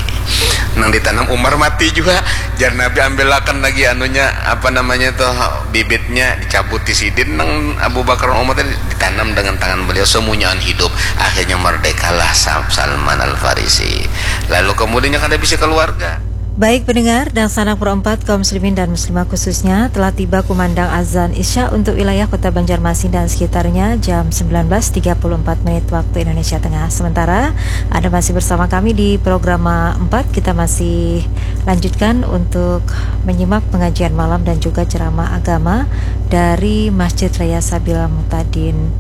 Nang ditanam Umar mati juga. Jar Nabi, "Ambilakan lagi anunya, apa namanya tuh, bibitnya." Dicabuti sidin nang Abu Bakar, Umar tadi, ditanam dengan tangan beliau, semuanya hidup. Akhirnya merdekalah Sa-, Salman Al-Farisi. Lalu kemudiannya kada bisa keluarga. Baik pendengar, dangsanak perempat kaum muslimin dan muslimah khususnya, telah tiba kumandang azan Isya untuk wilayah Kota Banjarmasin dan sekitarnya jam sembilan belas tiga puluh empat menit waktu Indonesia Tengah. Sementara Anda masih bersama kami di program empat, kita masih lanjutkan untuk menyimak pengajian malam dan juga ceramah agama dari Masjid Raya Sabil Mutadin,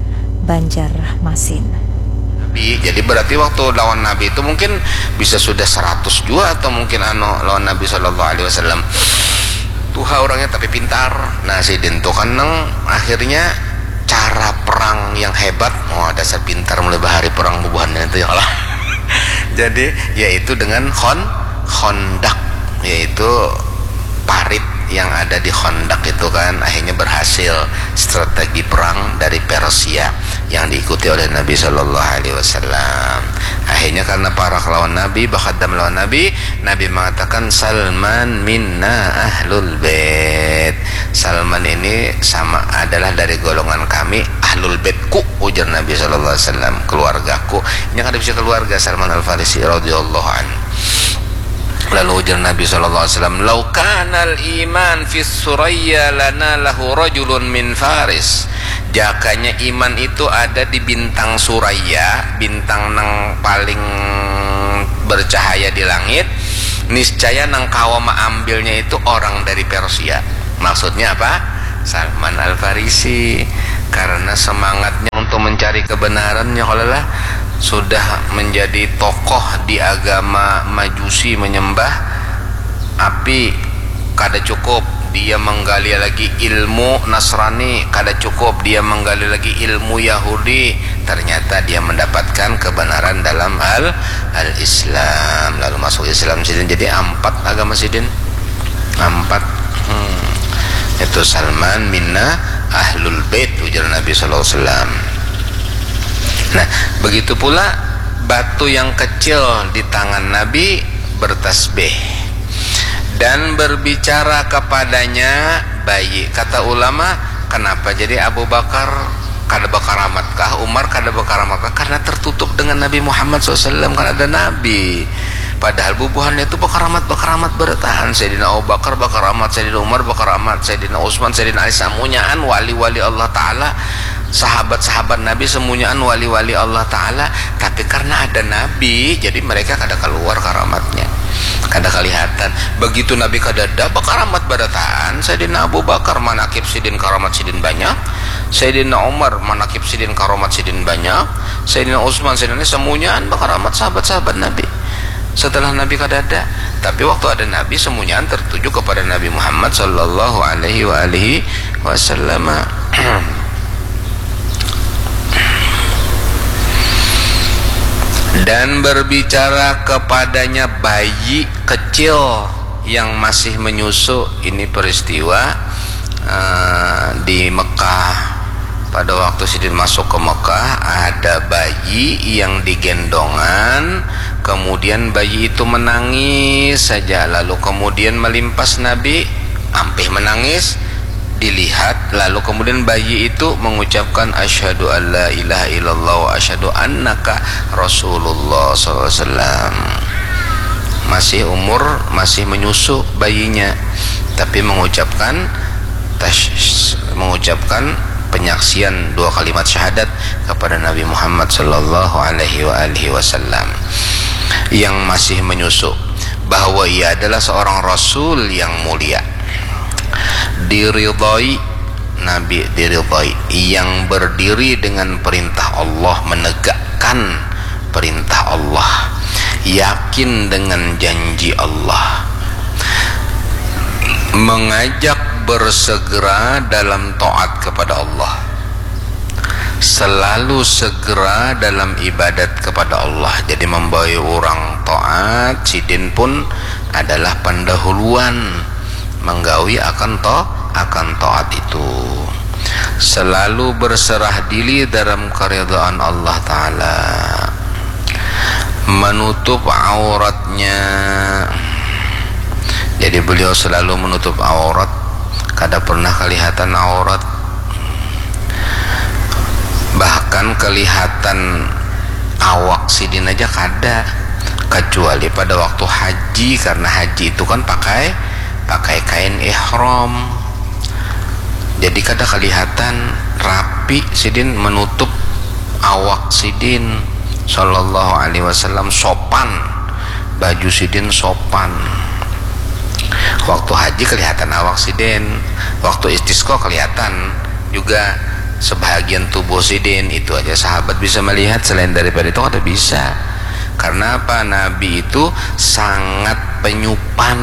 Banjarmasin. Nabi. Jadi berarti waktu lawan Nabi itu mungkin bisa sudah seratus jua atau mungkin anu lawan Nabi sallallahu alaihi wasallam. Tuha orangnya tapi pintar. Nah, sidin tu kan nang akhirnya cara perang yang hebat. Wah, dasar pintar mulai bahari perang bubuhannya itu ya Allah. Jadi yaitu dengan khon-, khandaq, yaitu parit yang ada di Khandaq itu kan, akhirnya berhasil strategi perang dari Persia yang diikuti oleh Nabi Shallallahu Alaihi Wasallam. Akhirnya karena parak lawan Nabi, bakadam lawan Nabi, Nabi mengatakan, "Salman minna ahlul bait." Salman ini sama, adalah dari golongan kami, ahlul baitku, ujar Nabi Shallallahu Alaihi Wasallam, keluargaku. Ini kan ada bisa keluarga Salman Al Farisi radhiyallahu anhu. Lalu ujar Nabi sallallahu alaihi wasallam, "Lau kanal iman fis suraya lana lahu rajulun min Faris." Jakanya iman itu ada di bintang Suraya, bintang nang paling bercahaya di langit, niscaya nang kawa maambilnya itu orang dari Persia. Maksudnya apa? Salman Al-Farisi. Karena semangatnya untuk mencari kebenarannya, kalau lah sudah menjadi tokoh di agama Majusi menyembah api, kada cukup dia menggali lagi ilmu Nasrani, kada cukup dia menggali lagi ilmu Yahudi, ternyata dia mendapatkan kebenaran dalam al al-Islam, lalu masuk Islam sidin. Jadi ampat agama sidin, ampat. Hmm. Itu Salman minna ahlul bait, ujar Nabi sallallahu alaihi wasallam. Nah, begitu pula batu yang kecil di tangan Nabi bertasbih dan berbicara kepadanya bayi. Kata ulama, kenapa jadi Abu Bakar kada bakaramat kah, Umar kada bakaramat kah? Karena tertutup dengan Nabi Muhammad sallallahu alaihi wasallam, kan ada Nabi. Padahal bubuhannya itu bakaramat, bakaramat barataan. Sayyidina Abu Bakar bakaramat, Sayyidina Umar bakaramat, Sayyidina Utsman, Sayyidina Ali, samunyaan wali-wali Allah Ta'ala, sahabat-sahabat Nabi samunyaan wali-wali Allah Ta'ala. Tapi karena ada Nabi, jadi mereka kada keluar karamatnya, kada kelihatan. Begitu Nabi kadada, bakaramat barataan. Sayyidina Abu Bakar manakib sidin, karamat sidin banyak. Sayyidina Umar manakib sidin, karamat sidin banyak. Sayyidina Utsman, Sayyidina Ali, samunyaan bakaramat sahabat-sahabat Nabi setelah Nabi kadada. Tapi waktu ada Nabi, samunyaan tertuju kepada Nabi Muhammad sallallahu alaihi wa alihi wasallam. Dan berbicara kepadanya bayi kecil yang masih menyusu. Ini peristiwa, eh, di Mekah. Pada waktu sidin masuk ke Mekah, ada bayi yang digendongan, kemudian bayi itu menangis saja, lalu kemudian melimpas Nabi, ampih menangis, dilihat, lalu kemudian bayi itu mengucapkan, "Asyhadu an la ilaha illallah wa asyhadu annaka Rasulullah," sallallahu alaihi wasallam. Masih umur, masih menyusu bayinya, tapi mengucapkan tas-, mengucapkan penyaksian dua kalimat syahadat kepada Nabi Muhammad sallallahu alaihi wa alihi wasallam yang masih menyusu, bahwa ia adalah seorang rasul yang mulia, diridhoi, Nabi diridhoi, yang berdiri dengan perintah Allah, menegakkan perintah Allah, yakin dengan janji Allah, mengajak bersegera dalam taat kepada Allah, selalu segera dalam ibadat kepada Allah. Jadi membawa orang taat, sidin pun adalah pendahuluan menggawi akan to-, akan taat itu. Selalu berserah diri dalam keridhaan Allah Ta'ala. Menutup auratnya. Jadi beliau selalu menutup aurat, kada pernah kelihatan aurat. Bahkan kelihatan awak sidin aja kada, kecuali pada waktu haji, karena haji itu kan pakai, pakai kain ihram. Jadi kada kelihatan rapi sidin menutup awak sidin sallallahu alaihi wasallam, sopan, baju sidin sopan. Waktu haji kelihatan awak sidin, waktu istisqa kelihatan juga sebahagian tubuh sidin. Itu aja sahabat bisa melihat, selain daripada itu kada bisa. Karena apa? Nabi itu sangat penyupan.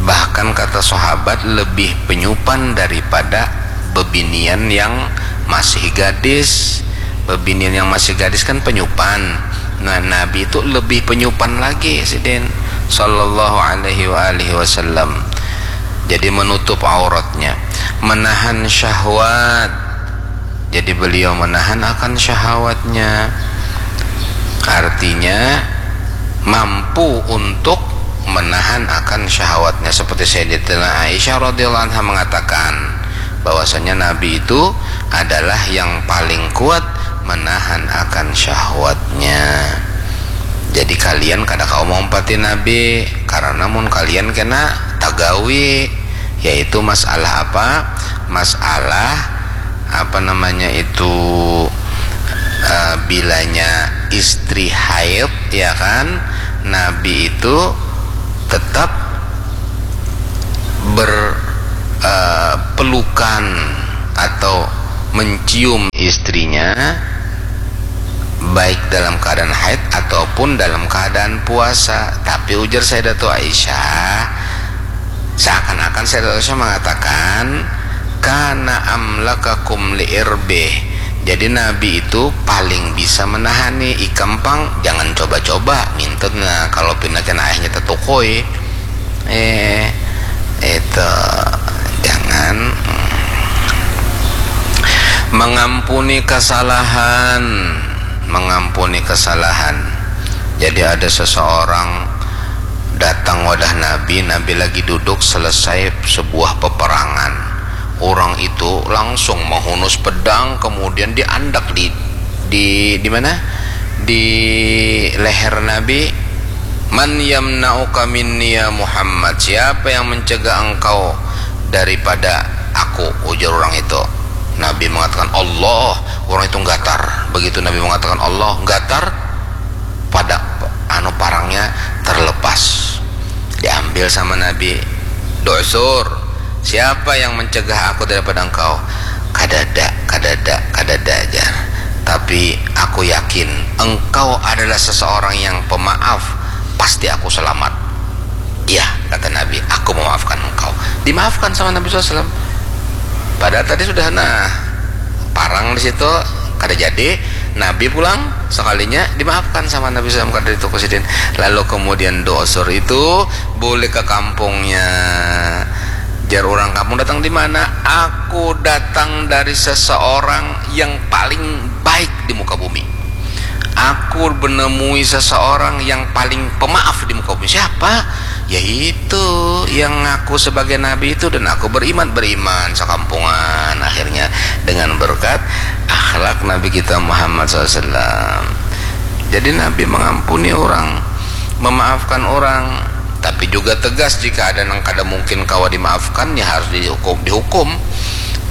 Bahkan kata sahabat, lebih penyupan daripada bebinian yang masih gadis. Bebinian yang masih gadis kan penyupan. Nah, Nabi itu lebih penyupan lagi sidin sallallahu alaihi wa alihi wasallam. Jadi menutup auratnya, menahan syahwat. Jadi beliau menahan akan syahwatnya. Artinya mampu untuk menahan akan syahwatnya, seperti Sayyidatina Aisyah radhiyallahu anha mengatakan bahwasanya Nabi itu adalah yang paling kuat menahan akan syahwatnya. Jadi kalian kada kawa maumpati Nabi, karena mun kalian kena tagawi, yaitu masalah apa? Masalah apa namanya itu, eh, bilanya istri haid, ya kan, Nabi itu tetap ber, eh, pelukan atau mencium istrinya, baik dalam keadaan haid ataupun dalam keadaan puasa. Tapi ujar Sayyidatu Aisyah, seakan-akan Sayyidatu Aisyah mengatakan, "Kana amlakakum li irbih." Jadi Nabi itu paling bisa menahani ikam pang, jangan coba-coba ngintut. Nah, kalau pina kena ayahnya tetukui, eh, itu jangan. Mengampuni kesalahan, mengampuni kesalahan. Jadi ada seseorang datang wadah Nabi, Nabi lagi duduk selesai sebuah peperangan. Orang itu langsung menghunus pedang, kemudian diandak di, di, di mana? Di leher Nabi. "Man yamna'uka minni ya Muhammad? Siapa yang mencegah engkau daripada aku?" ujar orang itu. Nabi mengatakan, "Allah." Orang itu gatar. Begitu Nabi mengatakan Allah, gatar, pada anu parangnya terlepas. Diambil sama Nabi. "Du'sur, siapa yang mencegah aku daripada engkau?" "Kadada, kadada, kadada," jar. "Tapi aku yakin engkau adalah seseorang yang pemaaf, pasti aku selamat." "Iya," kata Nabi, "aku memaafkan engkau." Dimaafkan sama Nabi sallallahu alaihi wasallam. Padahal tadi sudah, nah, parang di situ, kada jadi. Nabi pulang sekalinya dimaafkan sama Nabi sallallahu alaihi wasallam, kada ditukui sidin. Lalu kemudian Du'sur itu bulik ke kampungnya. Jar orang kampung, "Datang di mana?" "Aku datang dari seseorang yang paling baik di muka bumi. Aku menemui seseorang yang paling pemaaf di muka bumi." "Siapa?" "Yaitu yang ngaku sebagai nabi itu, dan aku beriman." Beriman sekampungan akhirnya dengan berkat akhlak Nabi kita Muhammad sallallahu alaihi wasallam. Jadi Nabi mengampuni orang, memaafkan orang, tapi juga tegas jika ada yang kada mungkin kawa dimaafkan, ya harus dihukum, dihukum.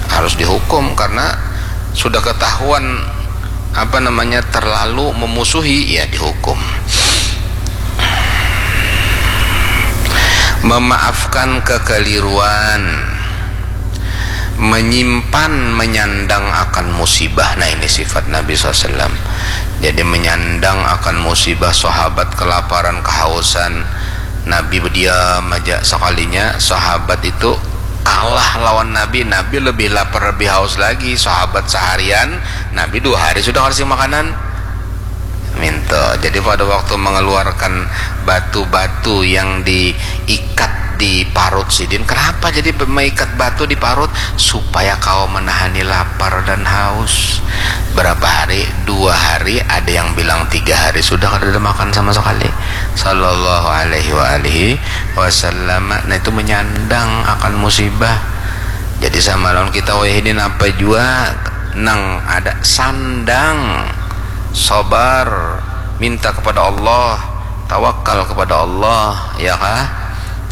Harus dihukum karena sudah ketahuan apa namanya, terlalu memusuhi, ya dihukum. Memaafkan kekeliruan, menyimpan, menyandang akan musibah. Nah, ini sifat Nabi sallallahu alaihi wasallam. Jadi menyandang akan musibah, sahabat kelaparan, kehausan, Nabi berdiam aja. Sekalinya sahabat itu kalah lawan Nabi, Nabi lebih lapar, lebih haus lagi. Sahabat seharian, Nabi dua hari sudah kasih makanan. Minta. Jadi pada waktu mengeluarkan batu-batu yang diikat di parut sidin, kenapa jadi meikat batu di parut? Supaya kawa menahani lapar dan haus. Berapa hari? Dua hari, ada yang bilang tiga hari sudah kada ada makan sama sekali. Sallallahu alaihi wa alihi wasallam. Nah, itu menyandang akan musibah. Jadi sama lawan kita wayah ini, napa jua nang ada, sandang, sabar, minta kepada Allah, tawakal kepada Allah, ya kah?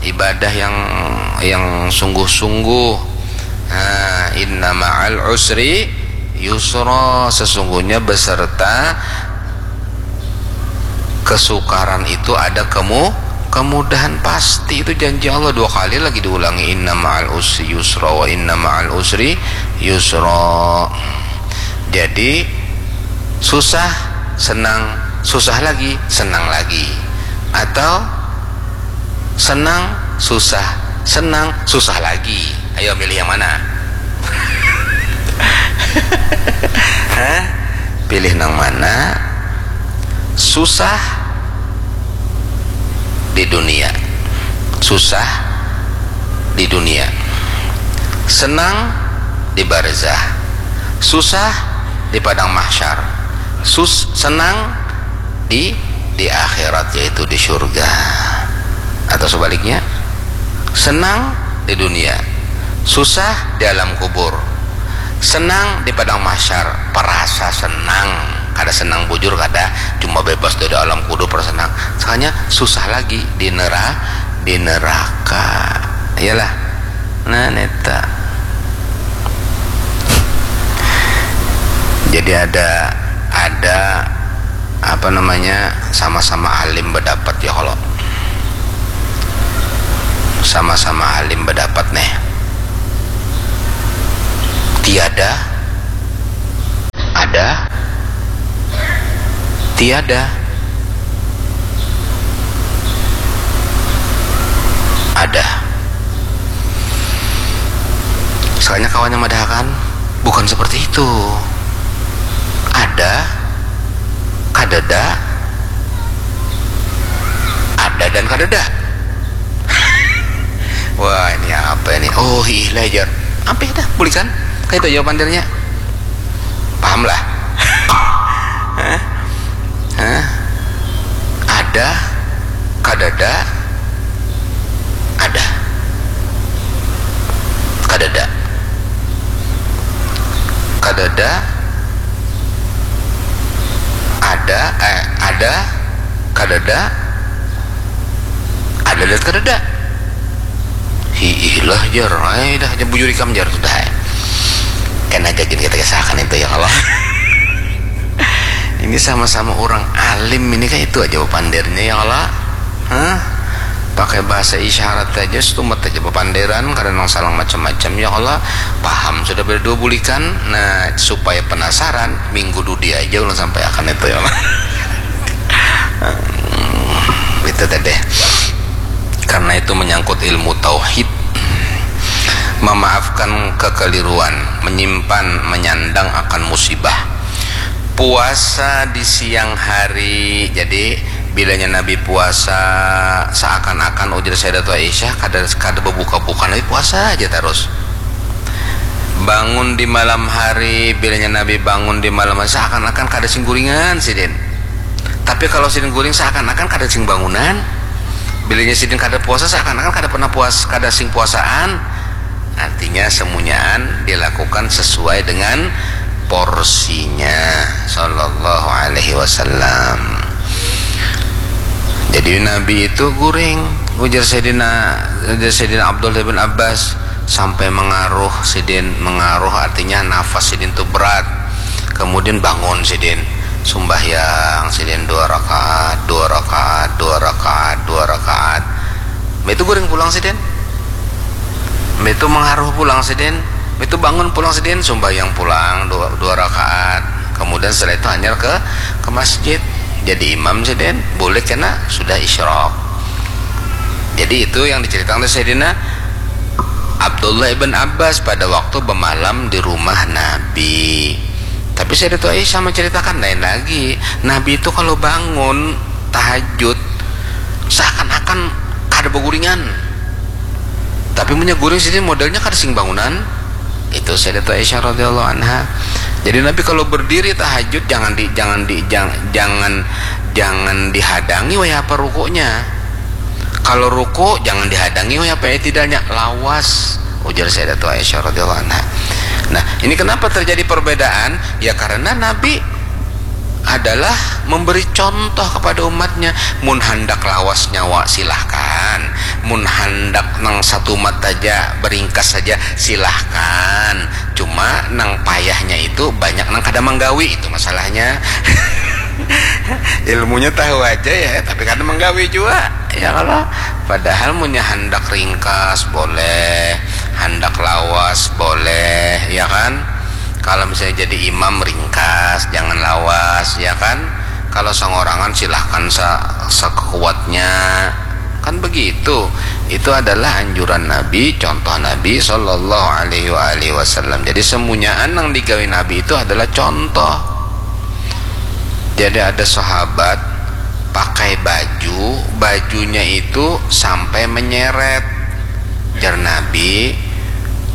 Ibadah yang, yang sungguh-sungguh. Nah, inna ma'al usri yusra, sesungguhnya beserta kesukaran itu ada kemu-, kemudahan. Pasti itu janji Allah, dua kali lagi diulangi, "Inna ma'al usri yusra wa inna ma'al usri yusra." Jadi susah, senang, susah lagi, senang lagi, atau senang, susah, senang, susah lagi. Ayo, milih yang mana? Hah? Pilih nang mana? Susah di dunia. Susah di dunia. Senang di barzah. Susah di padang mahsyar. Sus-, senang di, di akhirat, yaitu di surga. Atau sebaliknya, senang di dunia, susah di alam kubur. Senang di padang mahsyar, perasa senang Kada senang bujur, kada, cuma bebas dari alam kubur, senang. Sakalinya susah lagi di nera-, di neraka. Iyalah. Nah, neta. Jadi ada, ada apa namanya, sama-sama alim berdapat ya, kalau sama-sama alim berdapat nih. Tiada, ada, tiada, ada. Sakalinya kawannya madahakan, bukan seperti itu. Ada, kadada, ada dan kadada. Wah, ini apa ini? Oh, hiih lah, jar. Ampih dah, bulikan. Kayak itu jawaban dirinya. Paham lah. Hah? Hah? Ada, kadada, ada. Kadada. Kadada. Ada, eh, ada, kadada, ada dan kadada. Hiih lah, jar. Ai dah, jar, bujur ikam, jar, sudah ai. Kena gagin kita kisahkan itu, ya Allah. Ini sama-sama orang alim ini, kayak itu aja bepandirnya, ya Allah. Hah? Pakai bahasa isyarat aja, setumat aja bepandiran, kada nang salah macam-macam, ya Allah. Paham sudah berdua bulikan. Nah, supaya penasaran, minggu dudi aja ulang sampai akan itu, ya Allah. Itu tadi. Karena itu menyangkut ilmu tauhid. Memaafkan kekeliruan, menyimpan, menyandang akan musibah. Puasa di siang hari, jadi bilanya Nabi puasa, seakan-akan, ujar Sayyidatul Aisyah, kada, kada berbuka-buka, Nabi puasa aja terus. Bangun di malam hari, bilanya Nabi bangun di malam hari, seakan-akan kada sing guringan sidin. Tapi kalau sidin guring, seakan-akan kada sing bangunan. Bilanya sidin kada puasa, seakan-akan kada pernah puas, kada sing puasaan. Artinya, semunyaan dilakukan sesuai dengan porsinya, sallallahu alaihi wasallam. Jadi, Nabi itu guring, ujar Sayyidina, ujar Sayyidina Abdullah bin Abbas, sampai mengaruh sidin, mengaruh artinya nafas sidin tu berat. Kemudian bangun sidin, sumbahyang sidin dua rakaat, dua rakaat, dua rakaat, dua rakaat. Mbah itu guring pulang sidin. Mbah itu mengaruh pulang sidin. Mbah itu bangun pulang sidin, sumbahyang pulang dua, dua rakaat. Kemudian setelah itu hanyar ke, ke masjid. Jadi imam sidin, bulik kena sudah isyrok. Jadi itu yang diceritakan oleh Sayyidina Abdullah ibn Abbas pada waktu bemalam di rumah Nabi. Tapi Sayyidatu Aisyah menceritakan lain lagi. Nabi itu kalau bangun tahajud, seakan-akan kada beguringan. Tapi munnya guring sidin modelnya kada sing bangunan. Itu Sayyidatu Aisyah radhiyallahu anha. Jadi Nabi kalau berdiri tahajud, jangan di, jangan di, jang-, jangan, jangan dihadangi wayah apa rukuknya. Kalau ruku, jangan dihadangi wayah apa i'tidalnya, lawas, ujar Sayyidatu Aisyah radhiyallahu anha. Nah, ini kenapa terjadi perbedaan? Ya, karena Nabi adalah memberi contoh kepada umatnya. Mun handak lawas nyawa, silahkan. Mun handak nang satumat saja, beringkas saja, silahkan. Cuma nang payahnya itu banyak nang kada manggawi, itu masalahnya. Ilmunya tahu aja ya, tapi kada manggawi jua, ya kalo. Padahal munnya handak ringkas boleh, handak lawas boleh, ya kan? Kalau misalnya jadi imam, ringkas, jangan lawas, ya kan? Kalau songorangan, silahkan sa-, sekuatnya, kan begitu. Itu adalah anjuran Nabi, contoh Nabi sallallahu alaihi wa alihi wasallam. Jadi semunyaan nang digawi Nabi itu adalah contoh. Jadi ada sahabat pakai baju, bajunya itu sampai menyeret. Jar Nabi,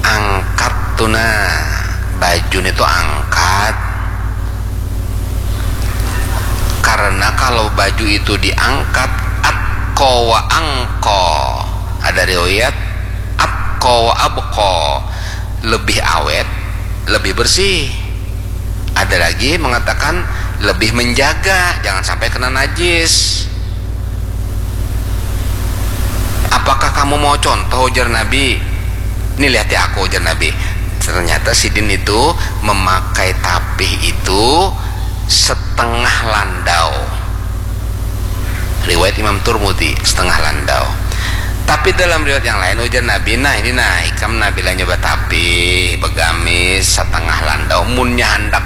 "Angkat tu nah, baju ni tu angkat." Karena kalau baju itu diangkat, atko wa angko. Ada riwayat, atko wa abko. Lebih awet, lebih bersih. Ada lagi mengatakan, lebih menjaga jangan sampai kena najis. Apakah kamu mau contoh, ujar Nabi? Ini lihati aku, ujar Nabi. Ternyata sidin itu memakai tapih itu setengah landau. Riwayat Imam Turmudi, setengah landau. Tapi dalam riwayat yang lain, ujar Nabi, nah ini nah ikam nah bila nyoba tapih begamis setengah landau, munnya hendak